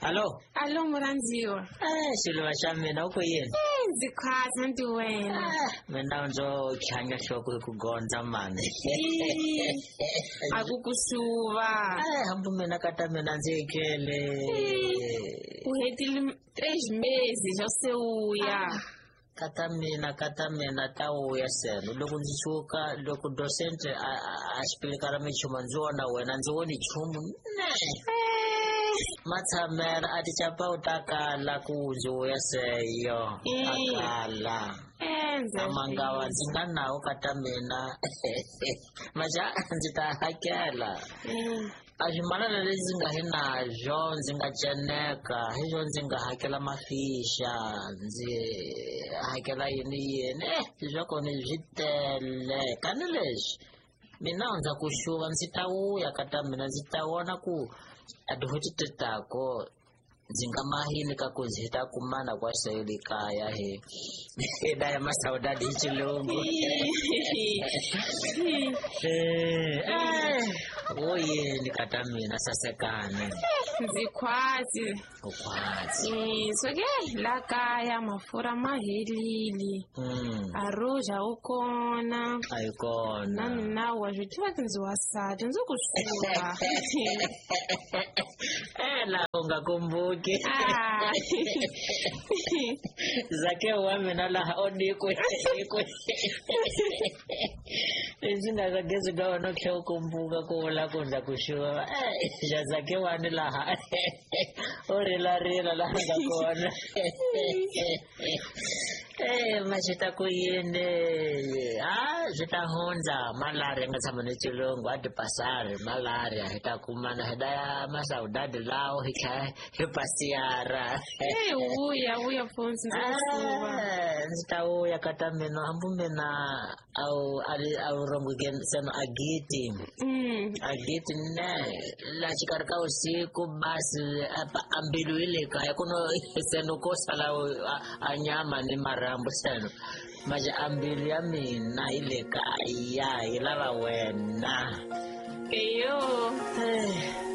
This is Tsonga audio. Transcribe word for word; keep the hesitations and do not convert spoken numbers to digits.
Hallo? Alo murhandziwa. Eh, xiluva xa mina u ku yini? Eh, ndzi khwatsa nti wena. Ah, mina ndzo khanya nhloko hi ku gondza mani. A ku ku xuva. Eh, hambi mina ka ta mina ndzi etlele. U hetile três meses xa se uya. Ka ta mina ka ta mina ta vuya seno loko ndzi suka loko docente a a xipilika minchumu ndzi vona wena ndzi voni nchumu ne matshamela a ticapa u ta kala ku ndzi vuya seyo a kala amangawa ndzi nga nawo ka ta mina maxa ndzi ta hakela a swimalana leswi ndzi nga hi nazwo ndzi nga ceneka hi swo ndzi nga hakela mafixa ndzi hakela yini yini eh swa kona swi tele kani leswi mina ndza ku xuva ndzi ta vuya ka ta mina ndzi ta vona ku a tin'hweti ti tako ndzi nga mahini ka ku ndzi ta kumana kwa seyoli kaya he daya masaudade hi xilungu eh wo yini ka ta mina sasekane ndzi khwatsi u khwatsi so ke la kaya mafurha ma helile mm a ruja wu kona a yi kona na mina wa swi tiva ku ndzi wasati ndzi ku xuva eh la u nga kumbuki Ah. zake wa mina laha o nikwe nikwe leswi nga ka gezi ka wena u tlhe u kumbuka ku vula ku ndza ku xuva eh xa zake wani laha u rilarila laha nga kona eh ma swi ta ku yini a swi ta hundza malaria nga tshama ni xilungu a ti pasari malaria hi ta kumana hi daya masaudadi lawo hi tlha hi pasiyara Eh, vuya vuya mfundzi ndzi ku xuva Eh, ndzi ta vuya ka ta mina hambi mina a wu a ri a wu rhongoke seno a giti Mm. a giti ne la xikarhi ka vusiku basi a a mbilu yi le kaya ku no seno ko sala a- a nyama ni marhambu seno maje a mbilu ya mina yi le kaya yi lava wena Eyo. Eh.